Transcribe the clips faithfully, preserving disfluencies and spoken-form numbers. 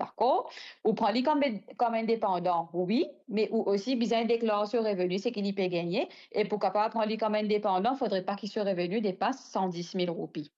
dakor? Ou pran li kom, kom enn depandan, wi, me ou osi bizin deklar so reveni, seki li pe gagne, e pou kapav pran li kom enn depandan, fodre pa ki so reveni depas san dis mil roupi.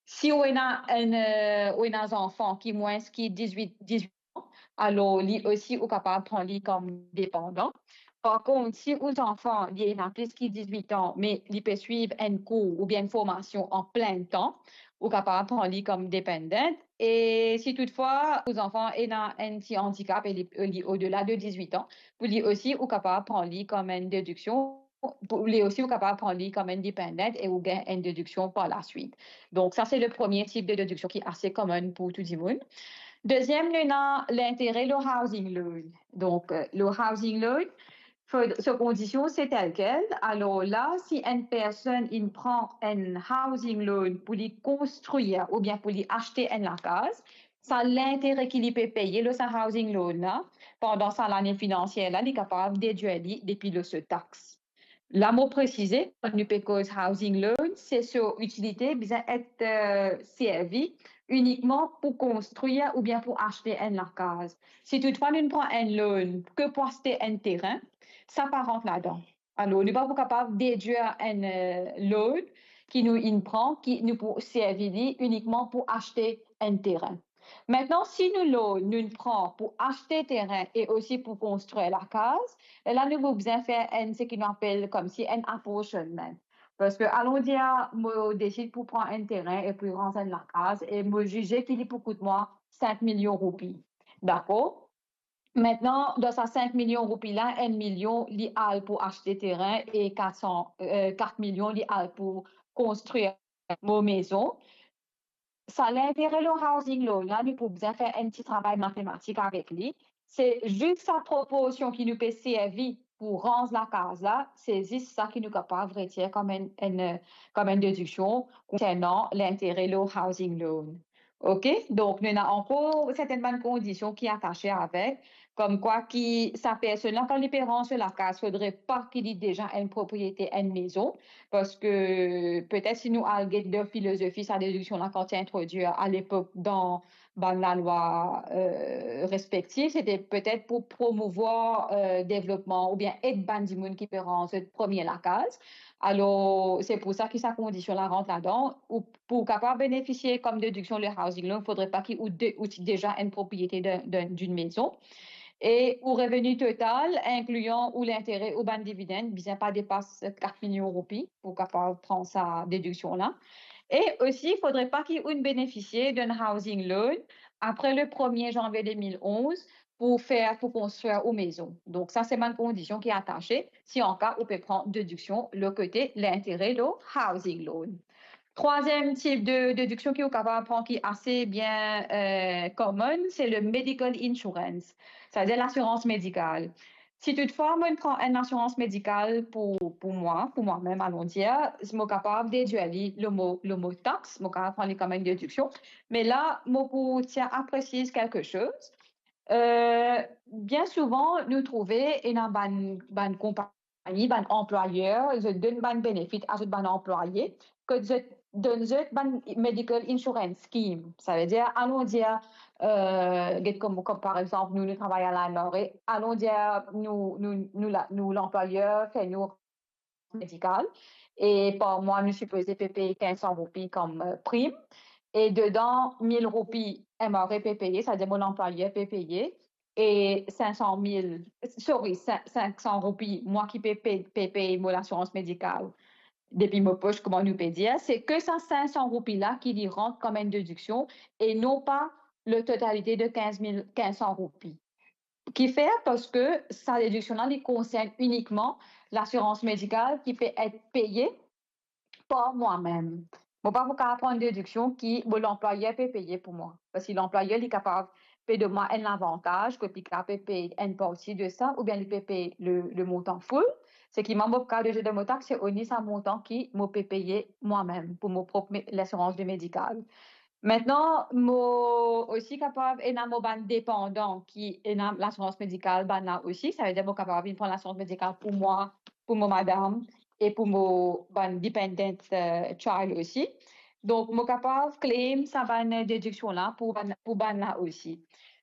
Si ou ena enn, eh, ou ena zanfan ki mwins ki dizwit, dizwit an, alor li osi ou kapav pran li kom depandan. Par kont, si ou zanfan li ena plis ki dizwit an, me li pe swiv enn kour oubien enn formasion an plin tan, ou kapav pran li kom dependent. E si toutfwa ou zanfan ena enn ti andikap e li, li odela de dizwit an, pou li osi ou kapav pran li kom enn dediksion, pou li osi ou kapav pran li kom enn dependent e ou gagn enn dediksion par laswit. Donk sa se le premie tip de dediksion ki ase komin pou tou dimoun. Deziem, nou ena lintere lor housing loan. Donk, eh, lor housing loan, fo, so kondision se telkel. Alor la, si enn personn inn pran enn housing loan pou li konstrir oubien pou li aste enn lakaz, sa lintere ki li pe peye lor sa housing loan la, pandan sa lane finansier la, li kapav dedwir li depi lor so tax. La mo presize, kan nou pe koz housing loan, se so itilite bizin et, eh, servi inikman pou konstrir oubien pou aste enn lakaz. Si toutfwa nou pran enn loan ke pou aste enn terin, sa pa rant ladan. Alor, nou pa pou kapav dedwir enn, eh, loan ki nou inn pran, ki nou pou servi li inikman pou aste enn terin. Mintnan, si nou loan, nou pran pou aste terin e osi pou konstrir lakaz, lerla nou pou bizin fer enn, seki nou apel koumsi enn apportionment. Parski, alon dir, mo desid pou pran enn terin e pou ranz enn lakaz, e mo zize ki li pou kout mwa sink milion roupi. Dakor? Mintnan, dan sa sink milion roupi la, enn milion li al pou aste terin e kat san, eh, kat milion li al pou konstrir mo mezon. Sa lintere lor housing loan la, nou pou bizin fer enn ti travay matematik avek li. Se zis sa proporsion ki nou pe servi pou ranz lakaz la, se zis sa ki nou kapav retir kouma enn, enn, kouma enn dediksion konsernan lintere lor housing loan. Ok? Donk, nou ena ankor sertin bann kondision ki atase avek, koumkwa ki sa personn la, kan li pe ranz so lakaz, fodre pa ki li deza enn propriete enn mezon, parski petet si nou al get dan filozofi sa dediksion la kan ti introdwir alepok dan bann lalwa, eh, respektif, sete petet pou promouvwar, eh, devlopman oubien ed bann dimoun ki pe ranz zot premie lakaz. Alor, se pou sa ki sa kondision la rant ladan. Ou pou kapav benefisie kouma dediksion lor housing loan, fodre pa ki ou de, ou ti deza enn propriete de, de, d'enn mezon. E ou reveni total, inklian ou lintere ou bann dividend, bizin pa depas kat milion roupi pou kapav pran sa dediksion la. E osi, fodre pa ki ou benefisie d'enn housing loan apre le premie zanvie de mil onz pou fer, pou konstrir ou mezon. Donk, sa se bann kondision ki atase, si anka ou pe pran dediksion lor kote lintere lor housing loan. Trwaziem tip de dediksion ki ou kapav pran ki ase bien, eh, komin, se le medical insurance, setadir lasirans medikal. Si toutfwa mo pran enn lasirans medikal pou, pou mwa, pou mwa mem, alon dir, mo kapav dedwir li lor mo, lor mo tax, mo kapav pran li kouma enn dediksion. Me la, mo pou tir a presiz kelke soz. Eh, bien souvan, nou trouve ena bann, bann konpagni, bann anplwayer, zot donn bann benefit a zot bann anplwaye, kot zot donn zot bann medical insurance scheme. Savedir, alon dir, eh, get kouma, kouma par exanp, nou, nou travay a la M R A, alon dir nou, nou, nou la, nou lanplwayer fer nou medikal, e par mwa nou sipoze pe pey kinz san roupi kouma, eh, prim, e dedan mil roupi M R A pe peye, setadir mo lanplwayer pe peye, e sink san mil, sorry, sink, sink san roupi, mwa ki pe, pe, pe pey mo lasirans medikal depi mo pos, kouma nou pe dir, se ke sa sink san roupi la ki li rant kouma enn dediksion e non pa le totalite de kinz mil, kinz san roupi. Kifer? Parski sa dediksion la, li konsern inikman lasirans medikal ki pe et peye par mwa mem. Mo pa pou kapav pran dediksion ki mo lanplwayer pe peye pou mwa. Parski lanplwayer, li kapav pe donn mwa enn lavantaz, kot li kapav pe pey enn parti de sa, oubien li pe pey le, le montan full. Seki mwa, mo kapav dedwir dan mo tax, se only sa montan ki mo pe peye mwa mem pou mo prop me-, lasirans de medikal. Mintnan, mo osi kapav ena mo bann depandan ki ena lasirans medikal bann la osi. Savedir mo kapav vinn pran lasirans medikal pou mwa, pou mo madam e pou mo bann dependent, eh, child osi. Donk, mo kapav claim sa bann dediksion la pou bann, pou bann la osi.